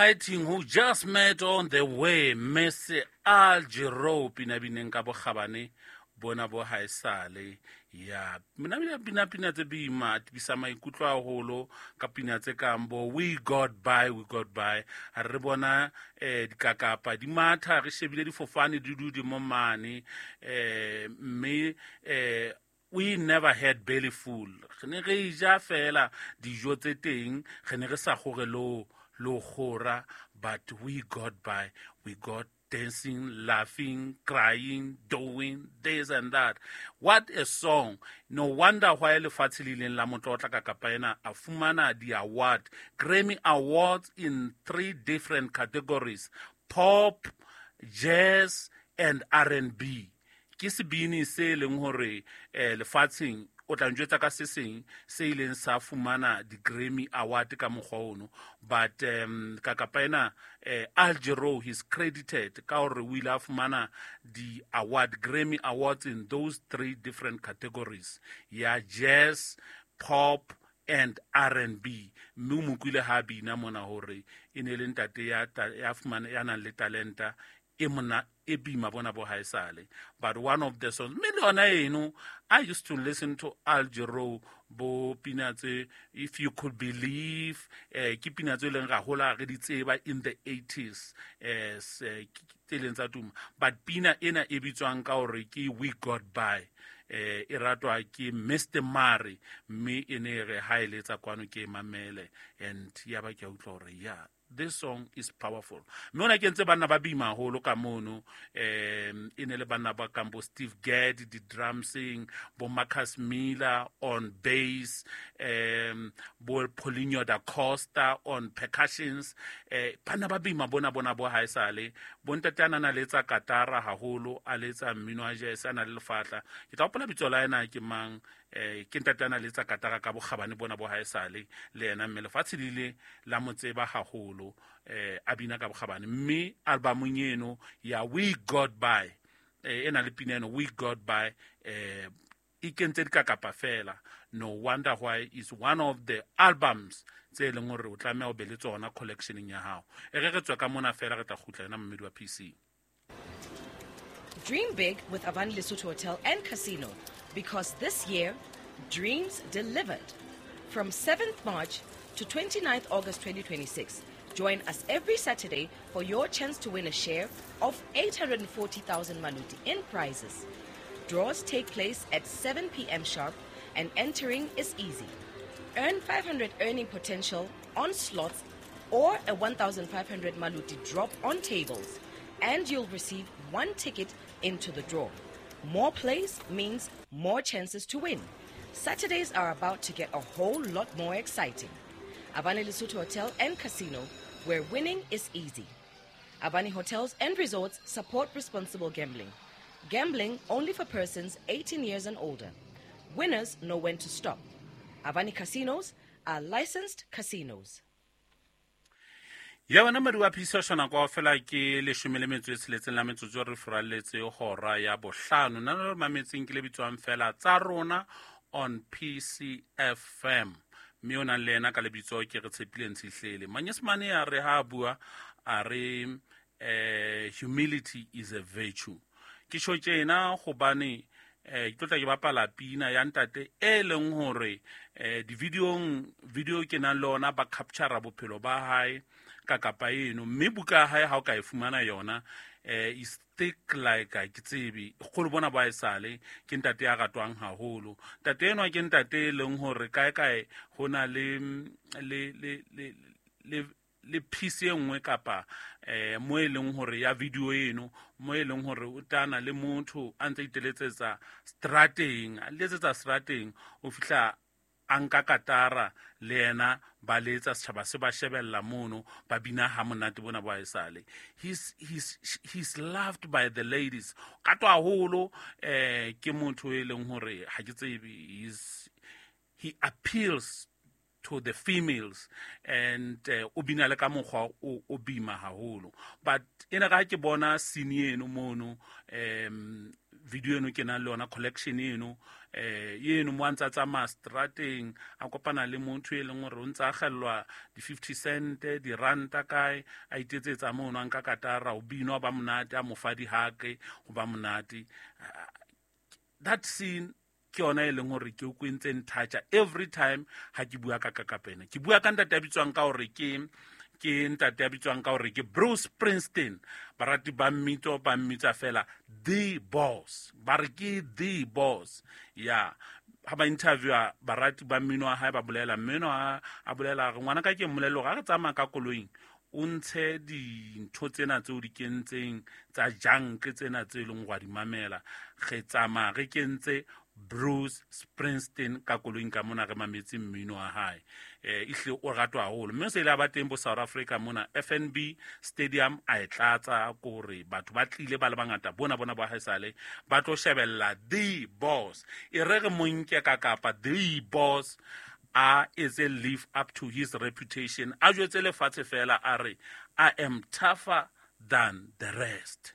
Writing who just met on the way, Miss Al Jarreau, pina bineng ka bokgabane bona bo haesale. Ya mina bina pina pina tse boima, tibisa maikutlo haholo ka pina tse kang bo "We Got By", "We Got By". Ha re bona dikakapa di matha, re shebile difofane di dudi mo mane, mme we never had belly full. Re ne re ja fela dijo tse teng, re ne re sa gore lo kgora, but we got by. We got dancing, laughing, crying, doing this and that. What a song. No wonder why lefatshe le ileng la motlotla ka kapa ena, a fumana di-award, Grammy Awards in three different categories: pop, jazz and R&B. Ke sebini se leng hore lefatsheng o tla njwetsa ka se seng se ileng sa fumana di-Grammy Award ka mokgwa ono. But ka kapa ena, Al Jarreau, he's credited ka hore o ile a fumana di-award, Grammy Awards, in those three different categories ya jazz, pop and R&B. Mme o mo kwile ha bina mona hore e ne le ntate ya fumana, ya nang le talenta e mona e bima bona bo haesale. But one of the songs, mme le yona eno, I used to listen to Al Jarreau, bo pina tse "If You Could Believe". Ke pina tse e leng ra hola re di tseba in the 80s, tse leng tsa tuma. But pina ena e bitswang ka hore ke "We Got By", e ratwa ke Mr Mare, mme e ne re ha e letsa kwano ke e mamele and ya ba ke a utlwa hore ya, this song is powerful. Mme ona kentse banna ba bima haholo ka mono, e ne le banna ba kang bo Steve Gadd di-drumsing, bo Marcus Miller on bass, bo Paulinho da Costa on percussions. Banna ba bima bona bo haesale. Bontate a na letsa katara haholo, a letsa mmino wa jazz, a na le lefatla. Ke tla hopola bitso la ena ke mang. Ke ntate a na letsa katara ka bokgabane bona bo haesale le yena, mme lefatshe le ile la mo tseba haholo, a bina ka bokgabane. Mme albumong eno ya "We Got By", e na le pina eno "We Got By", e kentse dikakapa fela. No wonder why is one of the albums tse e leng hore o tlameha o be le tsona collectioneng ya hao. E re re tswe ka mona fela, re tla kgutla ena mmedi wa PC. Dream big with Avani Lesotho Hotel and Casino, because this year, dreams delivered. From 7th March to 29th August 2026, join us every Saturday for your chance to win a share of 840,000 maluti in prizes. Draws take place at 7 p.m. sharp and entering is easy. Earn 500 earning potential on slots or a 1,500 maluti drop on tables, and you'll receive one ticket into the draw. More plays means more chances to win. Saturdays are about to get a whole lot more exciting. Avani Lesotho Hotel and Casino, where winning is easy. Avani Hotels and Resorts support responsible gambling. Gambling only for persons 18 years and older. Winners know when to stop. Avani Casinos are licensed casinos. Ya wena madi wa phisa shona kwa fela ke 16 la metsotso re furalletse hora ya 5. Nna le mametseng ke le bitswang fela tsa rona on PCFM, mme o nang le yena ka lebitso ke re tshepile Ntshihlele. Manyesemane a re ha a bua a re humility is a virtue. Ke tjho tjena hobane ke tlo tla ke bapala pina ya ntate e leng hore di-videong, video ke nang le ona ba capture bophelo ba hae ka kapa eno, mme buka ya hae ha o ka e fumana yona, is thick like ke tsebe kgolo bona ba esale. Ke ntate ya ratwang haholo. Ntate enwa ke ntate e leng hore kae kae ho na le piece e nngwe kapa mo e leng hore ya video eno, mo e leng hore o tana le motho a ntse iteletsetsa strateng, a letsetsa strateng, o fihla a nka katara le yena, ba letsa, setjhaba se ba shebella mono, ba bina ha monate bona ba esale. He's loved by the ladies ka to haholo. Ke motho e leng hore ha ke tsebe, he appeals to the females and o bina le ka mokgwa o bima haholo. But ena ka ke bona scene eno mono, Video eno ke nang le yona, collection eno, eno mo a ntse a tsamaya strateng, a kopana le motho e leng gore o ntse a gellwa di-50 cent, diranta kae, a itetsetsa mono, a nka katara, o bino ba monate, a mo fa dihake, go ba monate. That scene ke yona e leng gore ke o kwentse nthatša every time ha ke bua ka Kakapene. Ke bua ka ntate a bitswang ka gore ke ntate a bitswang ka gore ke Bruce Springsteen. Barati ba mmitso ba mmitsa fela The Boss, ba re ke The Boss. Ya ha ba interviewa barati ba mmino wa hae, ba bolela mmino, a bolela re ngwana ka ke mmolelo ga re tsamaya ka koloing, o ntshe dintho tsena tseo di kentseng tsa junk tsena tse e leng go a di mamela. Re tsamaya re kentse Bruce Springsteen ka koloing ka mona, re mametse mmino wa hae. Ehlile o ratwa haholo, mme o se ile a ba teng bo South Africa mona, FNB Stadium a e tlatsa, kore batho ba tlile ba le bangata bona bona ba haesale ba tlo shebella The Boss. E re re mo nke ka kapa The Boss a etse live up to his reputation, a jwetse lefatshe fela a re, "I am tougher than the rest."